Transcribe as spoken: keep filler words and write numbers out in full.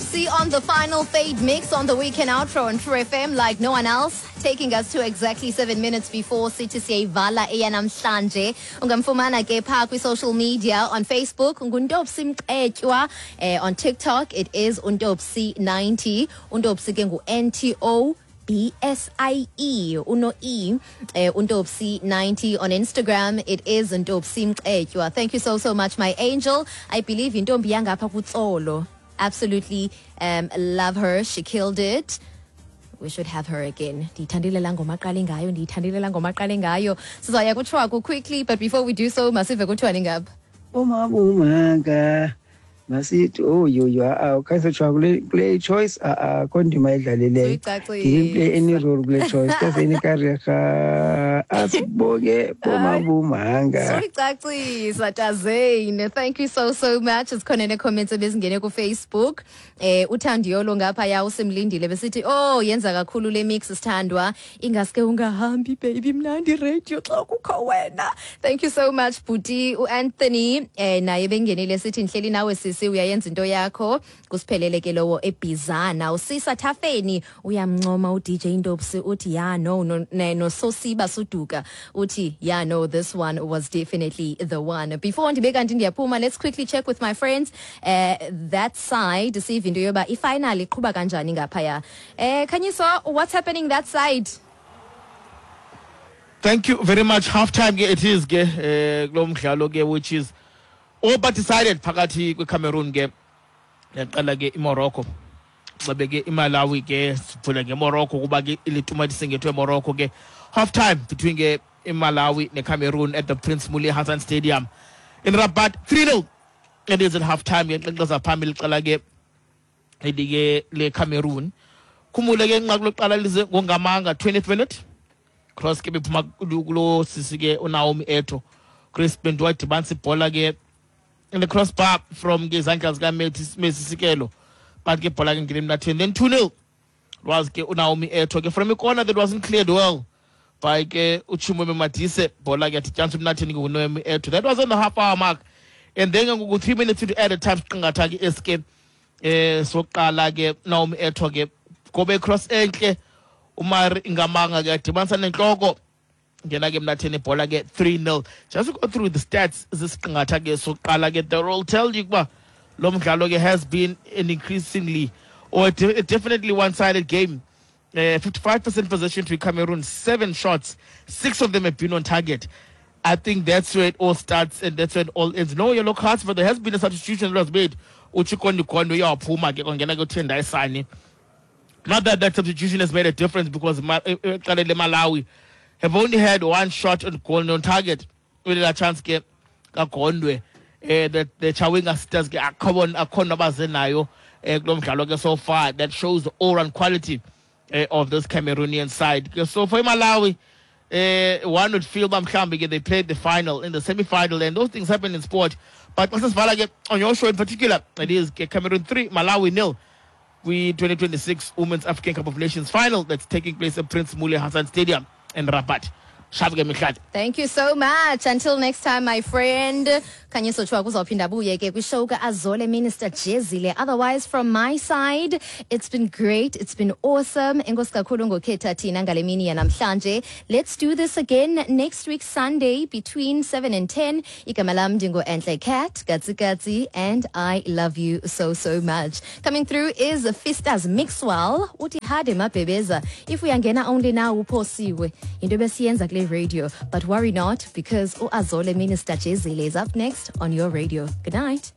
Ntopsi on the final fade mix on the weekend outro on True F M like no one else, taking us to exactly seven minutes before sithi siyayivala eyanamhlanje. Ungamfumana ke phaa kwi-social media: on Facebook nguNtopsi Mcetywa, eh, on TikTok it is uNtopsi ninety. UNtopsi ke ngu-N T O B S I E, uno E, eh, uNtopsi ninety. On Instagram it is Ntopsi Mcetywa. Thank you so so much, my angel. I believe intombi yangapha kuTsolo. Absolutely um, love her. She killed it. We should have her again. Ndiyithandile laa ngoma aqale ngayo, ndiyithandile laa ngoma aqale ngayo. Sizawuya kutshwaku quickly, but before we do so, masive kuthiwani ngapha. Umabumanga masithi oyoyo a ukhayisotsho kule kule choice a akho ndima edlalileyo. Suyicacisa. Didn't play any role kule choice kaseni karega asibonge bomabumanga. Suyicacisa, Tazane. Thank you so so much. Sikhona nee-comments ebezingene kuFacebook. Eh uthandiyolo ngaphaya usimlindile besithi, "Oh, yenza kakhulu le mix, sithandwa. Ingaske ungahambi, baby, mnandi radio xa kukho wena." Thank you so much, Buti. uAnthony eh naye bengenile sithi, "Ndihleli nawe sisi, uyayenza into yakho." Kusiphelele ke lowo eBhizana. Usisa Thafeni uyamncoma u D J Ntopsi, uthi yeah, no no ne- no Sosiba Suduka uthi, "Yeah, no, this one was definitely the one." Before ndibe kanti ndiyaphuma, let's quickly check with my friends uh, that side, sive into yoba ifinal iqhuba kanjani ngaphaya. Eh Khanyiso, what's happening that side? Thank you very much. Half time ke it is ke eh kulo mdlalo ke which is all but decided phakathi kweCameroon ke neqela ke iMorocco. Xabe ke iMalawi ke sivule ngeMorocco kuba ke ilituma singethwe eMorocco ke. Half time between ke iMalawi neCameroon at the Prince Moulay Hassan Stadium in Rabat, three zero it is at half time ke. Nxenxeza phambili iqela ke elike le Cameroon. Khumule ke inqaku lokuqala lize ngongamanga, twentieth minute, cross ke bephuma kulo sisi ke uNaomi Eto. Chris Bento wadibanisa ibhola ke in the crossbar from ke izandla zika Messi Sikelo, but ke ibhola ke ngene emnatheni. Then two zero was ke uNaomi Eto ke from a corner that wasn't cleared well by ke uChimweme Madise. Bhola ke yadityaniswa emnatheni ke nguNaomi Eto. That was on the half hour mark, and then ngoku three minutes into added time, siqingatha ke eske eh sokuqala ke, Naomi Eto ke gobe cross enhle, uMari Ngamanga ke yadibanisa nenhloko, ngena ke emnatheni ibhola ke, three zero. Just to go through the stats zisiqingatha ke sokuqala ke, they will tell you ukuba lo mdlalo ke has been an increasingly or a de- a definitely one-sided game. uh, fifty-five percent possession to Cameroon, seven shots, six of them have been on target. I think that's where it all starts and that's where it all ends. No yellow cards, but there has been a substitution that was made. UChikondi Kondo uyaphuma ke, kwangena ke uTendai Sani. Not that that substitution has made a difference, because Ma- eh, eh, iqela leMalawi have only had one shot on goal on target with a chance ke kaGondwe. eh the the Chawinga Stars ke akho akho abaze nayo eh kulo mdlalo ke so far. That shows the all-round quality eh, of this Cameroonian side. Ke so for Malawi, eh one would feel uba mhlawumbi ke they played the final in the semi-final, and those things happen in sport. But masisivala ke on your show in particular, it is ke Cameroon three, Malawi nil kwi twenty twenty-six Women's African Cup of Nations final that's taking place at Prince Moulay Hassan Stadium in Rabat. Shabu ke mihlali. Thank you so much. Until next time, my friend. Khanyiso Tshwaku uzawuphinda abuye ke kwishow ka-Azole Minister Jezile. Otherwise, from my side, it's been great. It's been awesome. Enkosi kakhulu ngokhetha thina ngale mini yanamhlanje. Let's do this again next week Sunday between seven and ten. Igama lam ndingu-Enhle Cat, Katsi Katsi, and I love you so, so much. Coming through is Fistas Mixwell. Uthi hade mabhebeza. If uyangena only now, uphosiwe. Into besiyenza kule radio. But worry not, because uAzole Minister Jezile is up next on your radio. Good night.